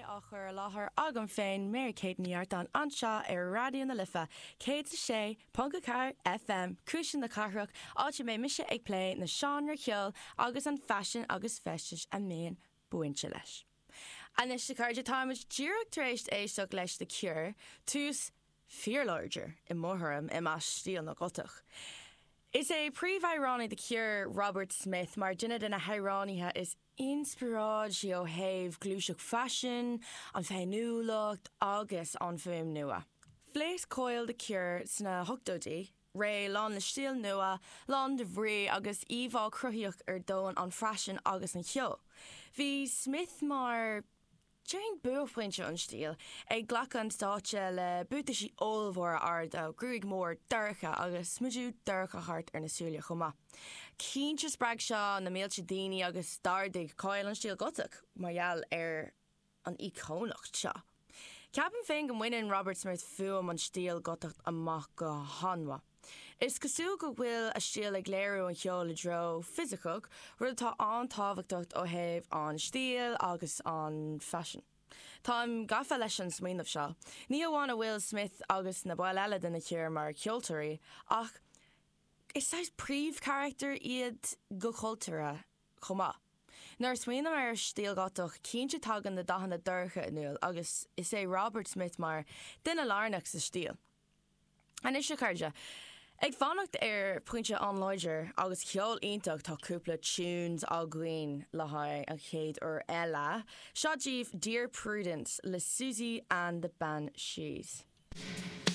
é á chur i láthair agam féin, Mary Kate Ní Artáin, anseo ar Raidió na Life 106.4 FM, Cuisle na Cathrach, áit a mbeidh mise ag plé na seánra ceoil agus an faisean agus feistis a mbíonn bainte leis. Anois, a chairde, táimid díreach tar éis éisteacht leis The Cure, tús fíorláidir, i mo thuairim, i measc stíl na Gotach. Is é príomhamhránaí The Cure, Robert Smith, mar duine de na hamhránaithe is inspioráidí ó thaobh gluaiseacht faisin, an féiniúlacht agus an fuaim nua. Phléasc cáil The Cure sna hochtóidí, ré lán le stíl nua, lán de bhrí agus íomhá cruthaitheach ar domhan an faisin agus an cheoil. Bhí Smith mar. Déarfainn buaicphointe an stíl, ag glacadh an stáitse le buataisí ollmhóra arda, gruaig mhór dorcha agus smideadh dorcha thart ar na súile chomh maith. Cinnte spreag seo na mílte daoine agus d'ardaigh cáil an stíl Gotach mar gheall ar an íocónacht seo. Ceapaim féin go mbaineann Robert Smith fuaim an stíl Gotach amach go han-mhaith. Is cosúil go bhfuil a stíl ag léiriú an cheoil i dtreo fisiceach, rud atá an-tábhachtach ó thaobh an stíl agus an faisin. Táim gafa leis an smaoineamh seo. Ní hamháin a bhfuil Smith agus na baill eile de na Cure mar cheoltóirí, ach is saghas príomhcharachtair iad go cultúrtha chomh maith. Nuair a smaoiním ar stíl Ghotach, cinnte tagann na dathanna dorcha in iúl agus is é Robert Smith mar duine lárnach sa stíl. Anois a chairde, ag fanacht ar pointe an-láidir agus ceol iontach tá cúpla tunes againn le haghaidh an chéad uair eile. Seo daoibh Dear Prudence le Siouxsie and the Banshees.